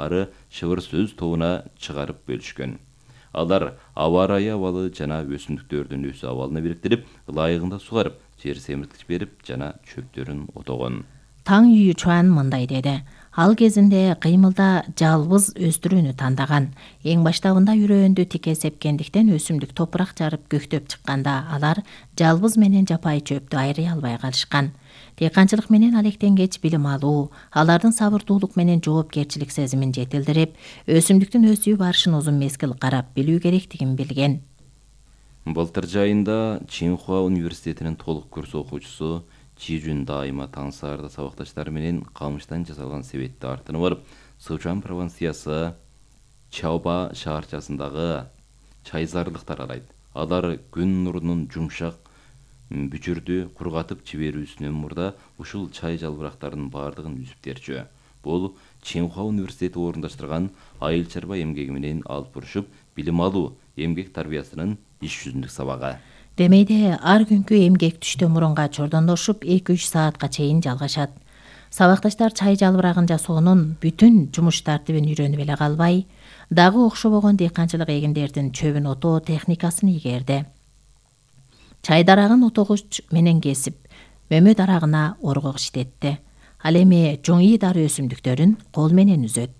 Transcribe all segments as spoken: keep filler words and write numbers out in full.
ары шыбыр сөз тобуна чыгарып бөлүшкөн. Алар аба ырайы абалы жана өсүмдүктөрдүн өсүү абалын бириктирип, ылайыгында сугарып, жер семирткич берип жана чөптөрүн отогон. Таң Юйчуан мындай деди. Ал кезинде кыймылда жалбыз өстүрүүнү тандаган. Эң баштабында үрөөндү тике сепкендиктен өсүмдүк топурак жарып көктөп чыкканда алар жалбыз менен жапайы чөптү айрый албай калышкан. Дыйканчылык менен алектенгеч билим алуу, алардын сабырдуулук менен жоопкерчилик сезимин жетилдирип, өсүмдүктүн өсүү барышын узун мезгил карап билүү керектигин билген. Былтыр жайында Чинхуа университетинин толук курс окуучусу Чижүн дайыма таң саарда сабакташтары менен камыштан жасалган себетти артынып барып, Сычуан провинциясы Чаоба шаарчасындагы чайзарлыктар арайт. Алар күн нурунун жумшак бүчүрдү кургатып жиберүүсүнөн мурда ушул чай жалбырактарынын баардыгын үзүп терчү. Бул Чинхуа университети орундаштырган айыл чарба эмгеги менен алып бурушуп, билим алуу эмгек тарбиясынын иш жүзүндүк сабагы. Демейде ар күнкү эмгек түштө мурунга чордондошуп эки үч саатка чейин жалгашат. Сабакташтар чай жалбырагын жасоонун бүтүн жумуш тартибин үйрөнүп эле калбай, дагы окшобогон дыйканчылык эгиндердин чөбүн отоо техникасын ийгерди. Чай дарагын отогуч менен кесип, мөмө дарагына оргок иштетти. Ал эми жоңий дары өсүмдүктөрүн кол менен үзөт.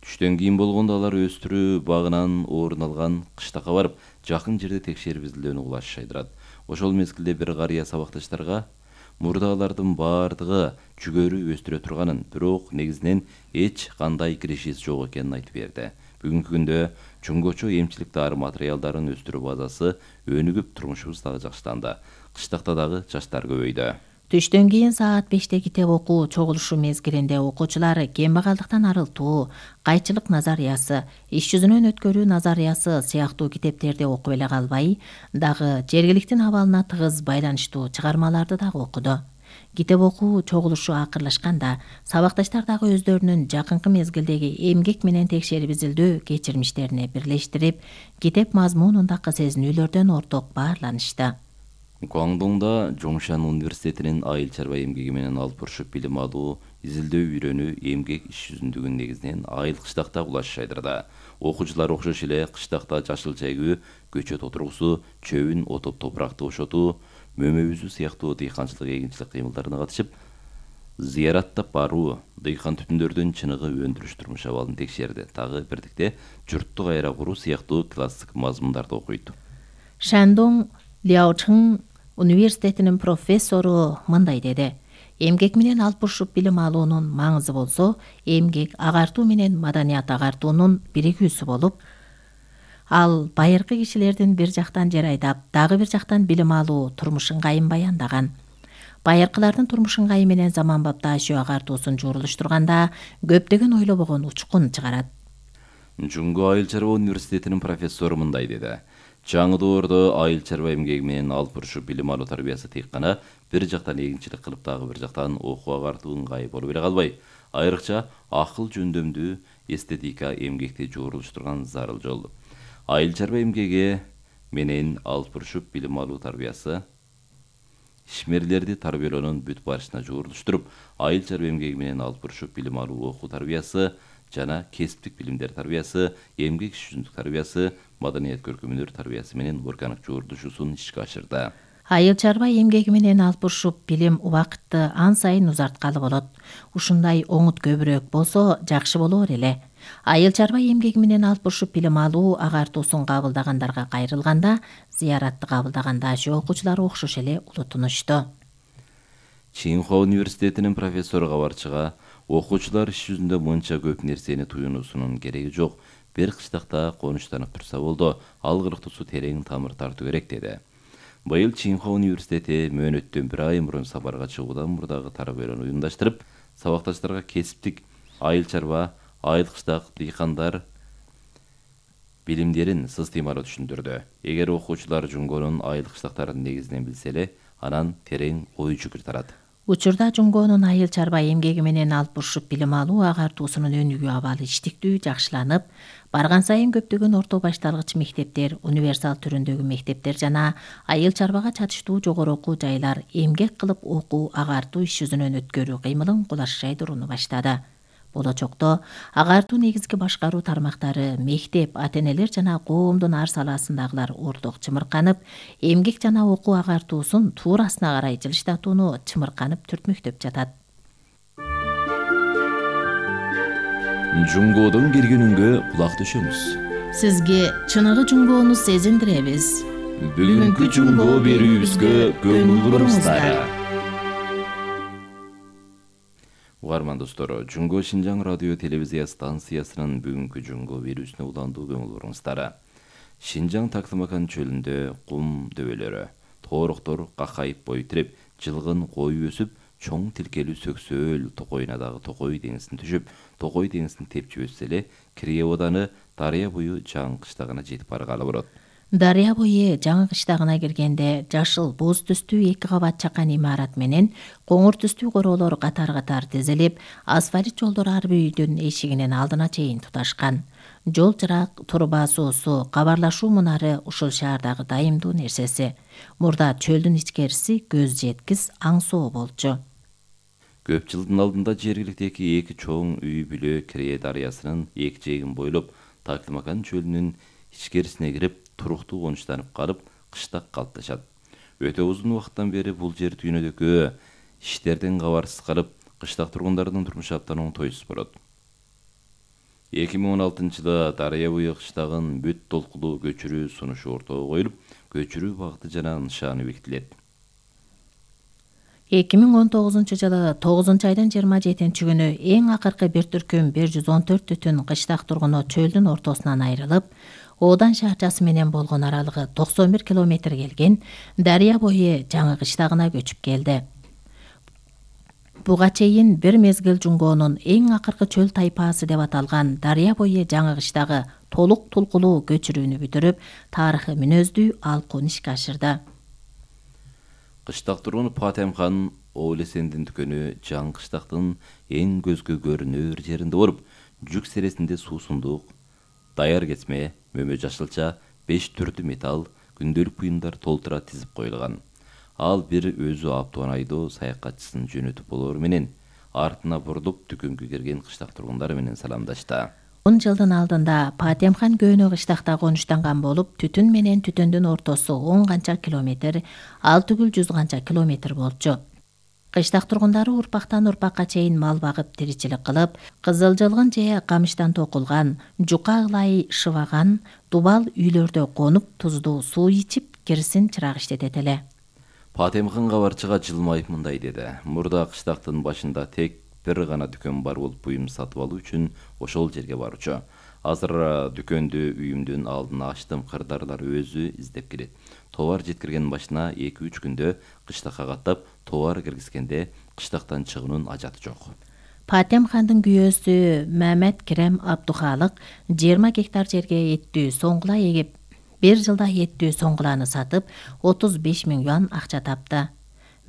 Түштөн кийин болгондо алар өстүрүү багынан орун алган кыштакка барып, жакын жерде текшерип изилдөөнү улаш шайдырат. Ошол мезгилде бир карыя сабакташтарга мурда алардын баардыгы жүгөрү өстүрө турганын, бирок негизинен эч кандай киришиси жок экенин айтып берди. Бүгүнкү күндө чоңгочо эмчилик дары материалдарын өстүрүү базасы өнүгүп, турмушубуз дагы жакшыланды. Кыштакта дагы жаштар көбөйдү. Түштөн кийин саат беште китеп окуу чогулушу мезгилинде окуучулар кембагалдыктан арылтуу, кайчылык назариясы, иш жүзүнөн өткөрүү назариясы сыяктуу китептерди окуп эле калбай, дагы жергиликтин абалына тыгыз байланыштуу чыгармаларды дагы окуду. Китеп окуу чогулушу акырлашканда сабакташтар дагы өздөрүнүн жакынкы мезгилдеги эмгек менен текшерип изилдөө кечирмиштерине бирлештирип, китеп мазмунундагы сезинүүлөрдөн орток баарланышты. Гуандоңдо Жоңшан университетинин айыл чарба эмгеги менен алып бурушуп билим алуу, изилдөө үйрөнүү эмгек иш жүзүндүгүн негизинен айыл кыштакта улаш шайдырда. Окуучулар окшош эле кыштакта жашылча эгүү, көчөт отургусу, чөбүн отуп топуракты бошотуу, мөмө үзүү сыяктуу дыйканчылык эгинчилик кыймылдарына катышып, зыяраттап баруу, дыйкан түтүндөрдүн чыныгы өндүрүш турмуш абалын текшерди. Дагы бирдикте журттук айра куруу сыяктуу классик мазмундарды окуйт. Шандоң Ляочың университетинин профессору мындай деди. Эмгек менен алып бурушуп билим алуунун маңызы болсо, эмгек агартуу менен маданият агартуунун биригүүсү болуп, ал байыркы кишилердин бир жактан жер айдап, дагы бир жактан билим алуу турмуш ыңгайын баяндаган. Байыркылардын турмуш ыңгайы менен заманбап дашөө агартуусун жуурулуштурганда көптөгөн ойлобогон учкун чыгарат. Жунго айыл чарба университетинин профессору мындай деди. Жаңы доордо айыл чарба эмгеги менен алып бурушуп билим алуу тарбиясы тек гана бир жактан эгинчилик кылып, дагы бир жактан окуу агартуу ыңгайы болуп эле калбай, айрыкча акыл жөндөмдүү эстетика эмгекти жуурулуштурган зарыл жол. Айыл чарба эмгеги менен алып бурушуп билим алуу тарбиясы ишмерлерди тарбиялоонун бүт барышына жуурулуштуруп, айыл чарба эмгеги менен алып бурушуп билим алуу окуу тарбиясы жана кесиптик билимдер тарбиясы, эмгек иш жүзүндүк тарбиясы, маданият көркөмдөр тарбиясы менен органик жуурулушуусун ишке ашырды. Айыл чарба эмгеги менен алып бурушуп билим убакытты ан сайын узарткалы болот. Ушундай оңут көбүрөөк болсо жакшы болор эле. Айыл чарба эмгеги менен алып бурушуп билим алуу агартуусун кабылдагандарга кайрылганда, зыяратты кабылдаган дашөө окуучулары окшош эле улутунушту. Чинхуа университетинин профессору кабарчыга окуучулар иш жүзүндө мынча көп нерсени туюнуусунун кереги жок. Бир кыштакта конуштанып турса болду, ал кырктуусу терең тамыр тартуу керек деди. Быйыл Чинхуа университети мөөнөттөн бир ай мурун сапарга чыгуудан мурдагы тарбиялоону уюмдаштырып, сабакташтарга кесиптик айыл чарба, айыл кыштак дыйкандар билимдерин сызтыймалуу түшүндүрдү. Эгер окуучулар Жунгонун айыл кыштактарын негизинен билсе эле, анан терең ой жүгүр тарат. Учурда Жунгонун айыл чарба эмгеги менен алып бурушуп билим алуу агартуусунун өнүгүү абалы иштиктүү жакшыланып, барган сайын көптөгөн орто башталгыч мектептер, универсал түрүндөгү мектептер жана айыл чарбага чатыштуу жогору окуу жайлар эмгек кылып окуу агартуу иш жүзүнөн өткөрүү кыймылын кулаш шайдырууну баштады. Болочокто агартуу негизги башкаруу тармактары, мектеп, ата-энелер жана коомдун ар салаасындагылар ордук чымырканып, эмгек жана окуу агартуусун туурасына карай жылыштатууну чымырканып түртмөктөп жатат. Жунгоодон келген үнгө кулак төшөңүз. Сизге чыныгы жунгоону сезиндиребиз. Бүгүнкү жунгоо берүүбүзгө көңүл буруңуздар. Угарман достор, Жунгоо Шинжаң радио телевизия станциясынын бүгүнкү жунгоо берүүсүнө уландуу көңүл буруңуздар. Шинжаң Тактымакан чөлүндө кум дөбөлөрү, тоороктор какайып бой тиреп, жылгын кой өсүп, чоң тилкелүү сөксөөл токойуна дагы токой деңизин түшүп, токой деңизин тепчи өтсө эле, Кирие Оданы Дарыя бою Жаңы кыштагына жетип баргалы болот. Дарыя бою Жаңы кыштагына киргенде жашыл боз түстүү эки кабат чакан имарат менен коңур түстүү короолор катар-катар тизилип, асфальт жолдор ар бир үйдүн эшигинин алдына чейин туташкан. Жол чырак, турба суусу, кабарлашуу мунары ушул шаардагы дайымдуу нерсеси. Мурда чөлдүн ичкериси көз жеткис аңсоо болчу. Көп жылдын алдында жергиликтеги эки чоң үй бүлө Кирие дарыясынын эки жээгин бойлоп Тактымакан чөлүнүн ичкерисине кирип, туруктуу конуштанып калып, кыштак калыпташат. Өтө узун убакыттан бери бул жер дүйнөдөгү иштерден кабарсыз калып, кыштак тургундардын турмушу абдан оңтойсуз болот. эки миң он алтынчы жылы Дарыя бою кыштагын бүт толкулуу көчүрүү сунушу ортого коюлуп, көчүрүү багыты жана нышаны бекитилет. эки миң он тогузунчу жылы тогузунчу айдын жыйырма жетинчи күнү эң акыркы бир түркүм бир жүз он төрт түтүн кыштак тургуну чөлдүн ортосунан айрылып, Одан шаарчасы менен болгон аралыгы токсон бир километр келген Дарыя бою Жаңы кыштагына көчүп келди. Буга чейин бир мезгил жунгоонун эң акыркы чөл тайпаасы деп аталган Дарыя бою Жаңы кыштагы толук тулкулуу көчүрүүнү бүтүрүп, тарыхый мүнөздүү алкуун ишке ашырды. Кыштак тургуну Патемхан Оолесендин дүкөнү Жаңы кыштактын эң көзгө көрүнөр жеринде болуп, жүк сересинде суусундук, даяр кетме, мөмө жашылча, беш түрдүү металл, күндөлүк буюмдар толтура тизип коюлган. Ал бир өзү аптуан айдоо саякатчысын жөнөтүп болору менен артына бурулуп дүкөнгө кирген кыштак тургундар менен саламдашты. он жылдын алдында Патемхан көөнө кыштакта конуштанган болуп, түтүн менен түтүндүн ортосу он канча километр, ал түгүл жүз канча километр болчу. Кыштак тургундары урпактан урпакка чейин мал багып тиричилик кылып, кызыл жылгын же камыштан токулган, жука ылай шыбаган, дубал үйлөрдө конуп, туздуу суу ичип, кирсин чырак иштетет эле. Патемхан кабарчыга жылмайып мындай деди: "Мурда кыштактын башында тек бир гана дүкөн бар болуп, буюм сатып алуу үчүн ошол жерге барчу. Азыр дүкөндү үйүмдүн алдына ачтым, кырдаарлар өзү издеп келет. Товар жеткирген башына эки үч күндө кыштакка каттап, товар киргизгенде кыштактан чыгуунун ажаты жок." Патемхандын күйөөсү Мамет Керем Абдухалык жыйырма гектар жерге эттүү соңгула эгип, бир жылда эттүү соңгуланы сатып, отуз беш миң юан акча тапты.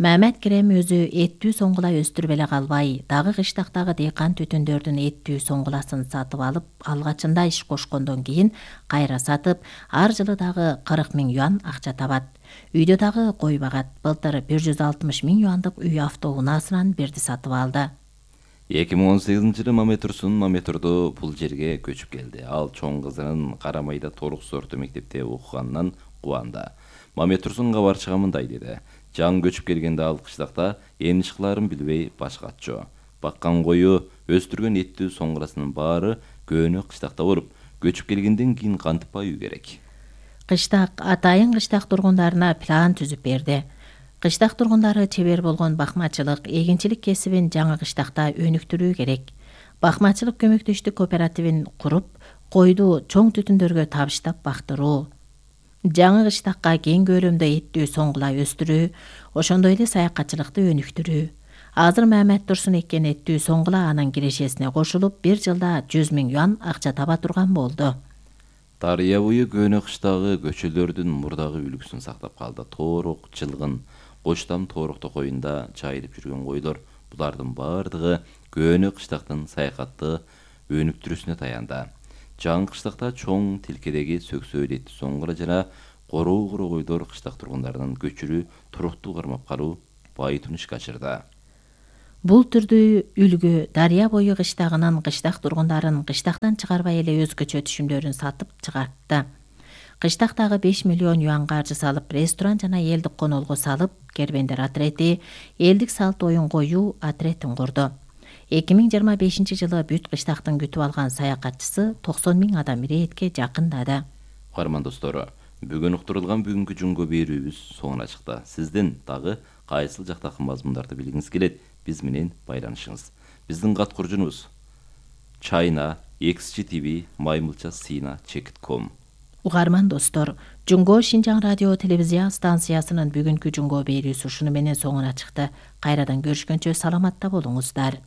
Мамет Керем өзү эттүү соңгула өстүрүп эле калбай, дагы кыштактагы дыйкан түтүндөрдүн эттүү соңгуласын сатып алып, алгачында иш кошкондон кийин кайра сатып, ар жылы дагы кырк миң юан акча табат. Үйдө дагы кой багат. Былтыр бир жүз алтымыш миң юандык үй автоунаасынан бирди сатып алды. эки миң он сегизинчи жылы Мамет Турсун Мамет-Турду бул жерге көчүп келди. Ал чоң кызынын Карамайда торук сорту мектепте окуганынан кубанды. Мамет Турсун кабарчыга мындай деди: "Жаңы көчүп келгенде ал кыштакта эмне кылаарын билбей баш катчу. Баккан кою, өстүргөн эттүү соңгуласынын баары көөнө кыштакта болуп, көчүп келгенден кийин кантип баюу керек?" Кыштак атайын кыштак тургундарына план түзүп берди. Кыштак тургундары чебер болгон бакмачылык, эгинчилик кесибин Жаңы кыштакта өнүктүрүү керек. Бакмачылык көмөктөштүк кооперативин куруп, койду чоң түтүндөргө табыштап бактыруу. Жаңы кыштакка кең көлөмдө эттүү соңгула өстүрүү, ошондой эле саякатчылыкты өнүктүрүү. Азыр Мамет Турсун эккен эттүү соңгула анын кирешесине кошулуп, бир жылда жүз миң юан акча таба турган болду. Дарыя бою көөнө кыштагы көчөлөрдүн мурдагы үлгүсүн сактап калды. Тоорок, жылгын, Коштам тоорок токоюнда жайылып жүргөн койлор, булардын бардыгы көөнө кыштактын саякатты өнүктүрүүсүнө таянды. Жаңы кыштакта чоң тилкедеги сөксөөл эттүү соңгула жана короо куру койлор кыштак тургундарынын көчүрүү, туруктуу кармап калуу, байытууну ишке ашырды. Бул түрдүү үлгү дарыя бою кыштагынан кыштак тургундарын кыштактан чыгарбай эле өзгөчө түшүмдөрүн сатып чыгартты. Кыштактагы беш миллион юан каржы салып, ресторан жана элдик конолго салып, кербендер отрети, элдик салт оюн коюу отретин курду. эки миң жыйырма бешинчи жылы бүт кыштактын күтүп алган саякатчысы токсон миң адам иретке жакындады. Угарман достору, бүгүн уктурулган бүгүнкү жунго берүүбүз соңуна чыкты. Сиздин дагы кайсыл жактагы мазмундарды билгиңиз келет, биз менен байланышыңыз. Биздин кат куржунубуз China экс джи ти ви маймылча сина чекит ком. Угарман достор, Жунго Шинжаң радио телевизия станциясынын бүгүнкү жунго берүүсү ушуну менен соңуна чыкты. Кайрадан көрүшкөнчө саламатта болуңуздар.